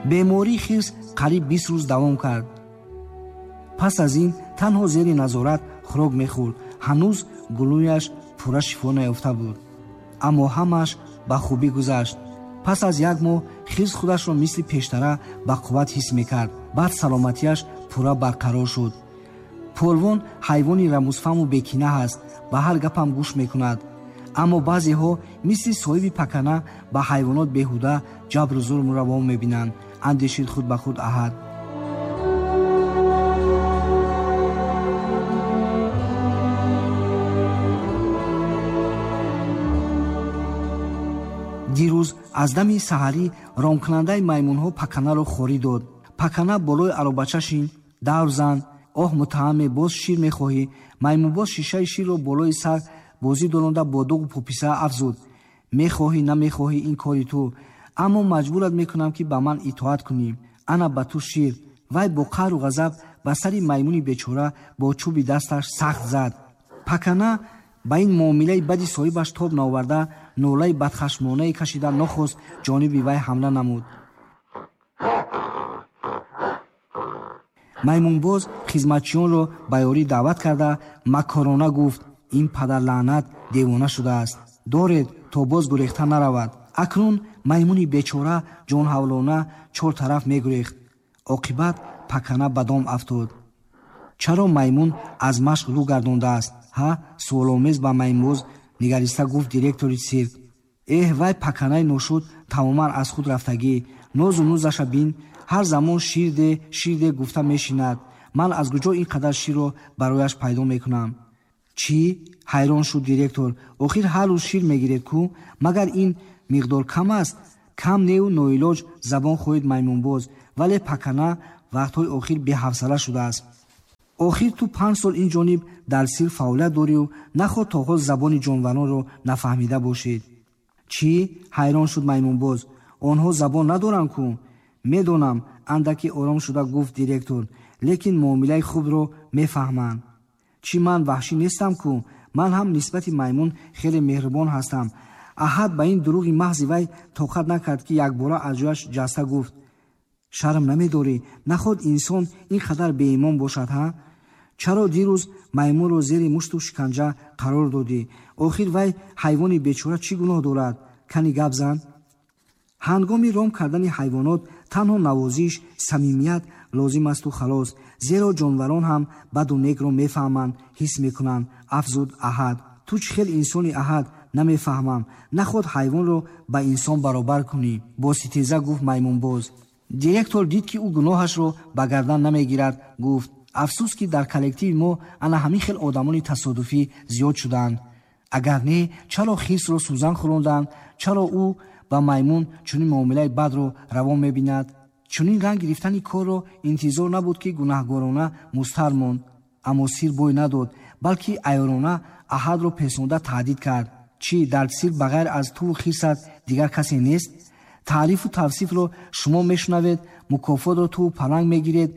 Бемории хирс қариб 20 рӯз давом кард. Пас аз ин танҳо зери назорат хӯрок мехӯрд. Ҳанӯз гулӯяш пурра шифо наёфта буд. Аммо ҳамааш ба хубӣ гузашт. Пас аз як моҳ хирс худашро мисли пештара ба қувват ҳис мекард. Баъд саломатиаш пурра барқарор шуд. Полвон ҳайвони рамузфаҳму бекина ҳаст, ба ҳар гапам гӯш мекунад. Аммо баъзеҳо мисли соҳиби пакана ба ҳайвонот беҳуда ҷабру зулм раво мебинанд, андешид худ ба худ Аҳад. Дирӯз аз дами саҳарӣ ромкунандаи маймунҳо паканаро хорӣ дод. Пакана болои аробача шин, давр зан, оҳ муттаҳаме, боз шир мехоҳӣ. Маймунбоз шишаи ширро болои сар бозӣ доронда бо дуғу пуписа афзуд. Мехоҳӣ, намехоҳӣ, ин кори ту, аммо маҷбурат мекунам, ки ба ман итоат кунӣ. Ана ба ту шир. Вай бо қаҳру ғазаб ба сари маймуни бечора бо чӯби дасташ сахт зад. Пакана ба ин муомилаи бади соҳибаш тоб наоварда, нолаи бадхашмонае кашида нохост ҷониби вай ҳамла намуд. Маймунбоз хизматчиёнро ба ёрӣ даъват карда макорона гуфт: ин падарлаънат девона шудааст, доред то боз гурехта наравад. Акнун маймуни бечора ҷонҳавлона чор тараф мегурехт. Оқибат пакана ба дом афтод. Чаро маймун аз машқ рӯ гардондааст? Ҳа, суоломез ба маймунбоз нигариста гуфт директори сирк. Эҳ, вай паканаи ношуд тамоман аз худ рафтагӣ. Нозу нузаша бин, ҳар замон ширде ширде гуфта мешинад. Ман аз куҷо ин қадар ширро барояш пайдо мекунам? Чӣ? Ҳайрон шуд директор. Охир ҳар рӯз шир мегиред кӯ? Магар ин миқдор кам аст? Кам неу ноилоҷ забон хоҳид маймунбоз, вале пакана вақтҳои охир беҳавсала шудааст. Охир ту 5 сол ин ҷониб дар сирк фаъолият дорию нахоҳ то ҳол забони ҷонваронро нафаҳмида бошед. Чӣ? Ҳайрон шуд маймунбоз. Онҳо забон надоранд кӯ? Медонам, андаке ором шуда гуфт директор, лекин муомилаи хубро мефаҳманд. Чӣ, ман ваҳшӣ нестам кӯ? Ман ҳам нисбати маймун хеле меҳрубон ҳастам. Аҳад ба ин дурӯғи маҳзи вай тоқат накард, ки якбора аз ҷояш ҷаста гуфт: шарм намедорӣ? Наход инсон ин қадар беимон бошад, ҳа? Чаро дирӯз маймунро зери мушту шиканҷа қарор додӣ? Охир вай ҳайвони бечора чӣ гуноҳ дорад? Кани гап зан. Ҳангоми ром кардани ҳайвонот танҳо навозиш, самимият лозим асту халос, зеро ҷонварон ҳам баду некро мефаҳманд, ҳис мекунанд, афзуд Аҳад. Ту чӣ хел инсони, Аҳад? Намефаҳмам. Наход ҳайвонро ба инсон баробар кунӣ, бо ситеза гуфт маймунбоз. Директор дид, ки ӯ гуноҳашро ба гардан намегирад, гуфт: афсӯс, ки дар коллективи мо ана ҳамин хел одамони тасодуфӣ зиёд шуданд. Агар не, чаро хирсро сӯзан хӯронданд? Чаро ӯ ба маймун чунин муомилаи бадро раво мебинад? Чунин ранг гирифтани корро интизор набуд, ки гунаҳгорона мустар монд. Аммо сир бой надод, балки айёрона Аҳадро песонда таҳдид кард. Чӣ, дар сир ба ғайр аз туву хирсат дигар касе нест? Таърифу тавсифро шумо мешунавед, мукофотро туву паланг мегиред,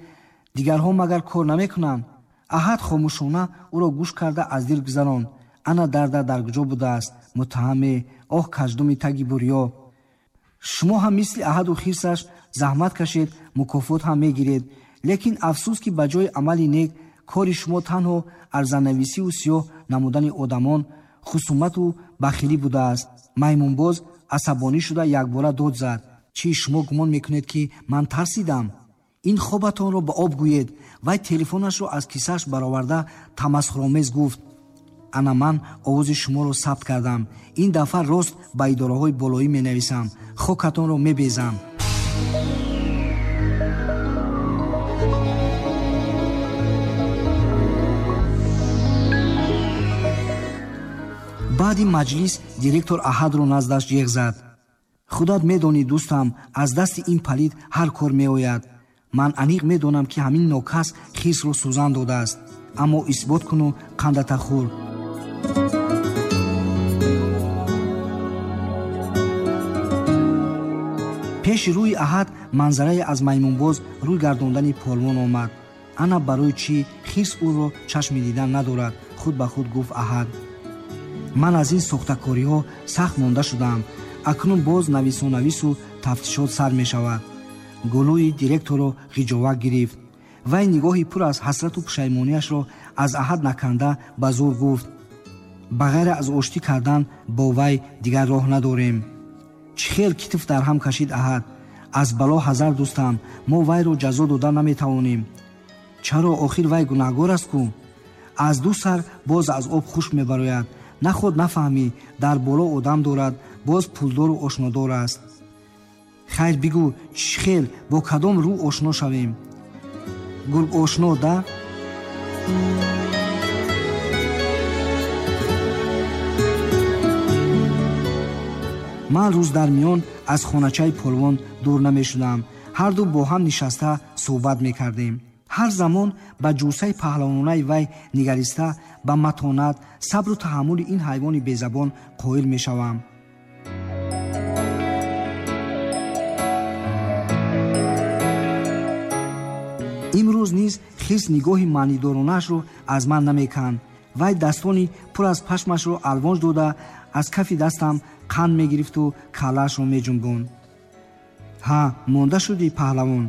дигарҳо магар кор намекунанд? Аҳад хомӯшона ӯро гӯш карда аз дил гузаронд. Ана дарда дар куҷо будааст, муттаҳаме, оҳ, каждуми таги бурё. Шумо ҳам мисли Аҳаду хирсаш заҳмат кашед, мукофот ҳам мегиред. Лекин афсӯс, ки ба ҷои амали нек кори шумо танҳо арзанависиву сиёҳ намудани одамон, хусумату бахилӣ будааст. Маймунбоз асабонӣ шуда якбора дод зад: чӣ, шумо гумон мекунед, ки ман тарсидам? Ин хобатонро ба об гӯед. Вай телефонашро аз кисааш бароварда тамасхуромез гуфт: ана ман овози шуморо сабт кардам. Ин дафъа рост ба идораҳои болоӣ менависам, хокатонро мебезам. Баъди маҷлис директор Аҳадро наздаш ҷеғ зад. Худат медонӣ, дӯстам, аз дасти ин палид ҳар кор меояд. Ман аниқ медонам, ки ҳамин нокас хирсро сӯзан додааст, аммо исбот куну қандата хӯр. Пеши рӯи Аҳад манзарае аз маймунбоз рӯй гардондани полвон омад. Ана барои чӣ хирс ӯро чашми дидан надорад, худ ба худ гуфт Аҳад. Ман аз ин сохтакориҳо сахт монда шудаам. Акнун боз нависонавису тафтишот сар мешавад. Гулӯи директорро ғиҷовак гирифт. Вай нигоҳи пур аз ҳасрату пушаймониашро аз Аҳад наканда ба зӯр гуфт: ба ғайр аз оштӣ кардан бо вай дигар роҳ надорем. Чӣ хел китф дар ҳам кашид Аҳад. Аз бало ҳазар, дӯстам, мо вайро ҷазо дода наметавонем. Чаро? Охир вай гунаҳгор аст ку. Аз ду сар боз аз об хушк мебарояд. Наход нафаҳмӣ, дар боло одам дорад, боз пулдору ошнодор аст. Хайр, бигӯ, чӣ хел, бо кадом рӯ ошно шавем? Гург ошно да? Ман рӯз дар миён аз хоначаи полвон дур намешудам. Ҳарду бо ҳам нишаста суҳбат мекардем. Ҳар замон ба ҷусаи паҳлавонаи вай нигариста, ба матонат, сабру таҳаммули ин ҳайвони безабон қоил мешавам. Имрӯз низ хирс нигоҳи маънидоронаашро аз ман намеканд. Вай дастони пур аз пашмашро алвонҷ дода, аз кафи дастам қанд мегирифту каллаашро меҷунбонд. Ҳа, монда шудӣ, паҳлавон.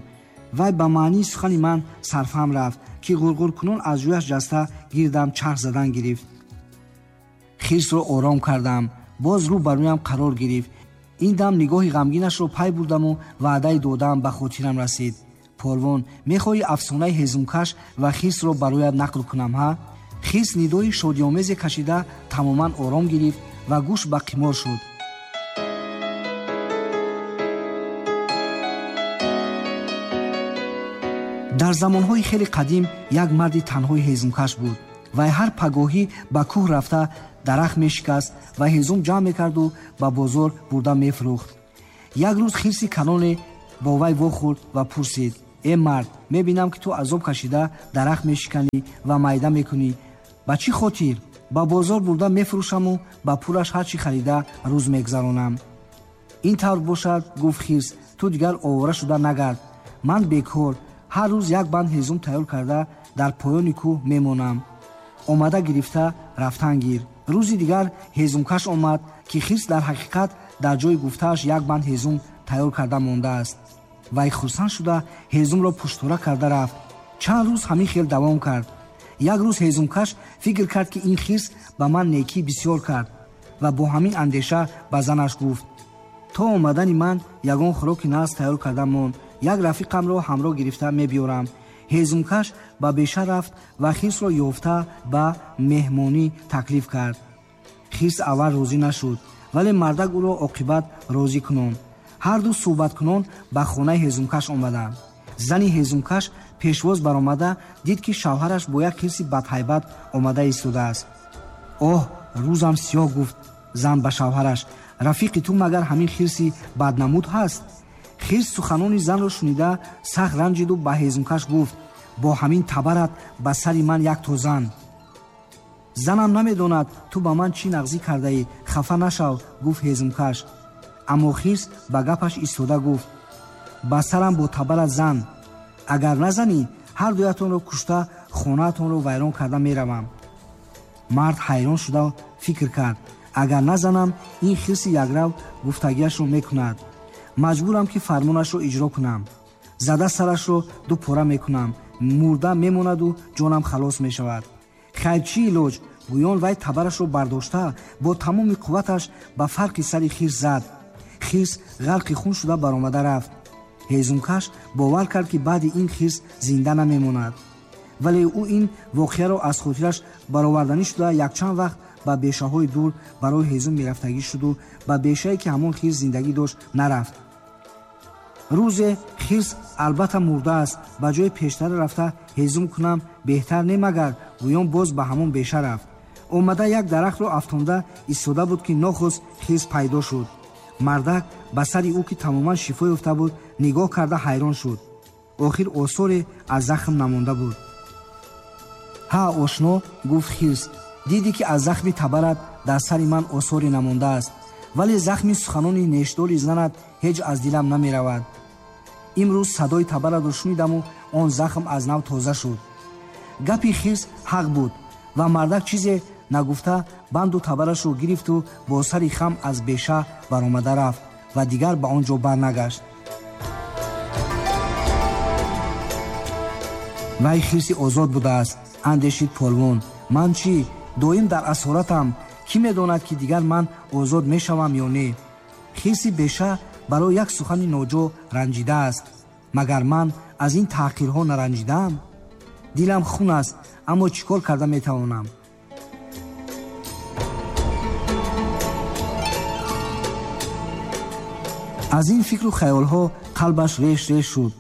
Вай ба маънии сухани ман сарфаҳм рафт, ки ғурғуркунон аз ҷӯяш ҷаста гирдам чарх задан гирифт. Хирсро ором кардам. Боз рӯ ба рӯям қарор гирифт. Ин дам нигоҳи ғамгинашро пай бурдаму ваъдаи додаам ба хотирам расид. Полвон, мехоҳӣ афсонаи ҳезумкаш ва хирсро барояд нақл кунам, ҳа? Хирс нидои шодиомезе кашида тамоман ором гирифт ва гӯш ба қимор шуд. Дар замонҳои хеле қадим як марди танҳои ҳезумкаш буд. Вай ҳар пагоҳӣ ба кӯҳ рафта дарахт мешикаст ва ҳезум ҷамъ мекарду ба бозор бурда мефурӯхт. Як рӯз хирси калоне бо вай вохӯрд ва пурсид: э мард, мебинам ки ту азоб кашида дарахт мешиканӣ ва майда мекунӣ. Ба чӣ хотир? Ба бозор бурда мефурӯшаму ба пулаш ҳар чӣ харида рӯз мегзаронам. Ин тавр бошад, гуфт хирс, ту дигар овора шуда нагард. Ман бекор ҳар рӯз як банд ҳезум тайёр карда дар поёни кӯҳ мемонам. Омада гирифта рафтан гир. Рӯзи дигар ҳезумкаш омад, ки хирс дар ҳақиқат дар ҷои гуфтааш як банд ҳезум тайёр карда мондааст. Вай хурсанд шуда ҳезумро пуштора карда рафт. Чанд рӯз ҳамин хел давом кард. Як рӯз ҳезумкаш фикр кард, ки ин хирс ба ман некӣ бисёр кард ва бо ҳамин андеша ба занаш гуфт: то омадани ман ягон хӯроки нағз тайёр карда монд, як рафиқамро ҳамроҳ гирифта мебиёрам. Ҳезумкаш ба беша рафт ва хирсро ёфта ба меҳмонӣ таклиф кард. Хирс аввал розӣ нашуд, вале мардак ӯро оқибат розӣ кунонд. Ҳарду суҳбаткунон ба хонаи ҳезумкаш омаданд. Зани ҳезумкаш пешвоз баромада дид, ки шавҳараш бо як хирси бадҳайбат омада истодааст. Оҳ, рӯзам сиёҳ, гуфт зан ба шавҳараш, рафиқи ту магар ҳамин хирси баднамуд ҳаст? Хирс суханони занро шунида сахт ранҷиду ба ҳезумкаш гуфт: бо ҳамин табарат ба сари ман як то зан. Занам намедонад ту ба ман чӣ нағзӣ кардаӣ, хафа нашав, гуфт ҳезумкаш. Аммо хирс ба гапаш истода гуфт: ба сарам бо табарат зан. Агар назанӣ, ҳар дуятонро кушта хонаатонро вайрон карда меравам. Мард ҳайрон шуда фикр кард: агар назанам, ин хирси якрав гуфтагиашро мекунад. Маҷбурам ки фармонашро иҷро кунам. Зада сарашро ду пора мекунам, мурда мемонаду ҷонам халос мешавад. Хайр, чӣ илоҷ? Гӯён вай табарашро бардошта бо тамоми қувваташ ба фарқи сари хирс зад. Хирс ғарқи хун шуда баромада рафт. Ҳезумкаш бовар кард, ки баъди ин хирс зинда намемонад. Вале ӯ ин воқеаро аз хотираш бароварданӣ шуда якчанд вақт ба бешаҳои дур барои ҳезум мерафтагӣ шуду ба бешае, ки ҳамон хирс зиндагӣ дошт, нарафт. Рӯзе хирс албатта мурдааст, ба ҷои пештара рафта ҳезум кунам беҳтар не магар, гӯён боз ба ҳамон беша рафт. Омада як дарахтро афтонда истода буд, ки нохост хирс пайдо шуд. Мардак ба сари ӯ, ки тамоман шифо ёфта буд, нигоҳ карда ҳайрон шуд. Охир осоре аз захм намонда буд. Ҳа, ошно, гуфт хирс, дидӣ, ки аз захми табарат дар сари ман осоре намондааст, вале захми суханони нештори занат ҳеҷ аз дилам намеравад. Имрӯз садои табаратро шунидаму он захм аз нав тоза шуд. Гапи хирс ҳақ буд ва мардак чизе нагуфта банду табарашро гирифту бо сари хам аз беша баромада рафт ва дигар ба он ҷо барнагашт. Вай хирси озод будааст, андешид полвон. Ман чӣ? Доим дар асоратам. Кӣ медонад, ки дигар ман озод мешавам ё не? Хирси беша барои як сухани ноҷо ранҷидааст. Магар ман аз ин таҳқирҳо наранҷидаам? Дилам хун аст, аммо чӣ кор карда метавонам? Аз ин фикру хаёлҳо қалбаш реш реш шуд.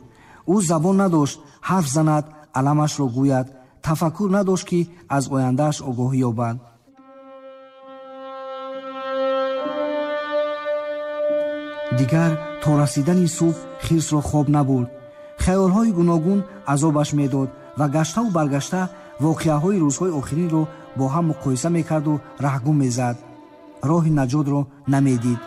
Ӯ забон надошт ҳарф занад, аламашро гӯяд, тафаккур надошт, ки аз ояндааш огоҳӣ ёбад. Дигар то расидани субҳ хирсро хоб набурд. Хаёлҳои гуногун азобаш медод ва гаштаву баргашта воқеаҳои рӯзҳои охиринро бо ҳам муқоиса мекарду раҳгум мезад. Роҳи наҷотро намедид.